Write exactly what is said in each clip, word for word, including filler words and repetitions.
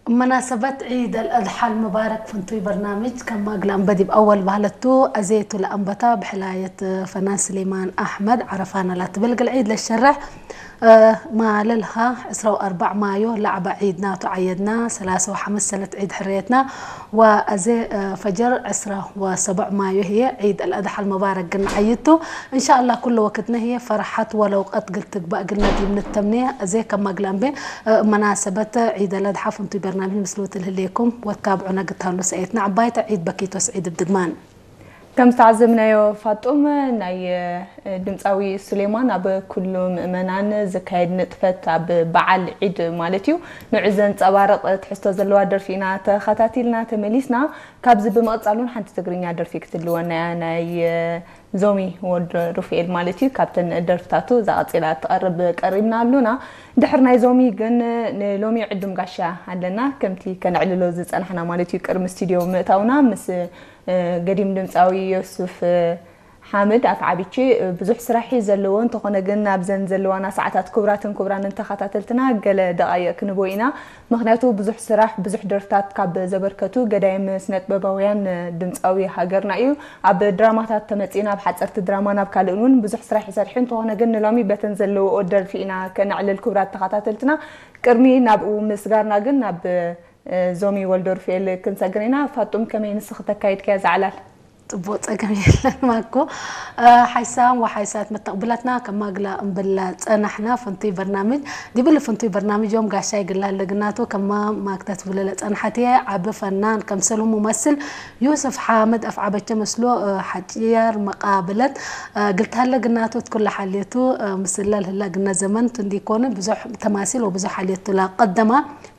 መናሰበት ዒድ አልአድሓ አልሙባረክ ፍንቱይ በርናምጅ ከማግ ለአንበ ዲብ አወል በህለቱ፣ አዜቱ ለአንበታ ብሕላየት ፈናን ስሌማን አሕመድ ዐረፋነ ላትብል እግል ዒድ ለሸርሕ፣ እ፣ ማለልሃ ዕስራ ወአርበዕ ማዮ ለዐበ ዒድና ቱ ዐየድና፣ ሰላሰ ወሐምስ ሰነት ዒድ ሕርየትና፣ ወአዜ፣ እ፣ ፈጀር ዕስራ ወሰብዕ ማዮ ህዬ ዒድ አልአድሓ አልሙባረክ እግል ነዐይድ ቱ። እንሻአላህ ኩሉ ወክድነ ህዬ ፈርሐት ወለውቀት እግል ትግበእ እግልነ ዲብ ንተምኔ። አዜ ከማግ ለአንበ፣ እ፣ መናሰበት ዒድ አልአድሓ ፍንቱይ በርናምጅ ምስሉት ለህሌኩም ወትታብዑነ እግል ተሀሉ ሰእየትነ ዐባይተ። ዒድ በኪት ወስዒድ እብ ድግማን። ከም ዝተዓዘብናዮ ፋጡም፣ ናይ ድምጻዊ ሱሌማን ኣብ ኩሉ ምእመናን ዝካየድ ንጥፈት ኣብ በዓል ዒድ ማለት እዩ። ንዑ ዘንጸባርቕ ትሕዝቶ ዘለዋ ደርፊ ኢና ተኸታቲልና ተመሊስና። ካብዚ ብምቕጻል እውን ሓንቲ ትግርኛ ደርፊ ክትልወና እያ፣ ናይ ዞሚ ወልደ ሩፍኤል ማለት እዩ። ካብተን ደርፍታቱ እዛ ቀጺላ እትቐርብ ቀሪብና ኣሉና። ድሕር ናይ ዞሚ ግን ንሎሚ ዕዱም ጋሻ ኣለና። ከምቲ ከነዕልሎ ዝጸናሕና ማለት እዩ፣ ቅድሚ ስቱድዮ ምእታውና ምስ እ፣ ገዲም ድምጻዊ ዮሱፍ፣ እ፣ ሓምድ ኣፍዓቢቼ፣ እ፣ ብዙሕ ስራሕ እዩ ዘለዎ። እንተኾነ ግን ኣብዘን ዘለዋና ሰዓታት ክቡራትን ክቡራንን ተኸታተልትና ገለ ደቓይቕ ክንቦ ኢና። ምኽንያቱ ብዙሕ ስራሕ፣ ብዙሕ ደርፍታት ካብ ዘበርከቱ ገዳይም ስነጥበባውያን፣ እ፣ ድምጻዊ ሃገርና እዩ። ኣብ ድራማታት ተመጺእና፣ ኣብ ሓጸርቲ ድራማን ኣብ ካልእን እውን ብዙሕ ስራሕ ይሰርሕ። እንተኾነ ግን ንሎሚ በተን ዘለዎ ደርፊ ኢና ከነዕልል ክቡራት ተኸታተልትና። ቅድሚ ናብኡ ምስጋርና ግን ናብ እ፣ ዞሚ ወልደሩፍኤል ክንሰግር ኢና። ፋጡም፣ ከመይ ንስኺ ተካይድክያ እዛ ዕላል? ጽቡቅ፣ ጸገም የለን ማኮ። እ፣ ሓይሳም ወሓይሳት መተቅብላትና ከማግላ እምብላ ጸናሕና። ፍንቱይ በርናምጅ፣ ዲብሊ ፍንቱይ በርናምጅ ዮም ጋሻይ ግላ ለግናቱ ከማ ማክተት ብለ ለጸንሐት እየ። ዓቢ ፈናን፣ ከምሰሉ ሙመስል ዩስፍ ሓምድ አፍዓበቸ ምስሉ፣ እ፣ ሐጭየር መቃብለት፣ እ፣ ግልታለ ግናቱ እት ኩለ ሓልየቱ፣ እ፣ ምስለ ለህላ ግነ ዘመን ቱ እንዲኮን ብዙሕ ተማሲል ወብዙሕ ሓልየቱ ለቀደማ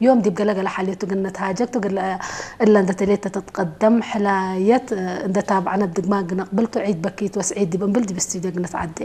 ዮም ዲብ ገለ-ገለ ሓልየቱ እግል ነትሃጀክ ቱ፣ እግል እለ እንዴ ተሌት ተትቀደም ሕላየት እንዴ ታብዐነ እብ ድግማን እግል ነቅብል ቱ። ዒድ በኪት ወስዒድ ዲብ እምብል ዲብ ስቱድዮ እግል ነትዓዴ።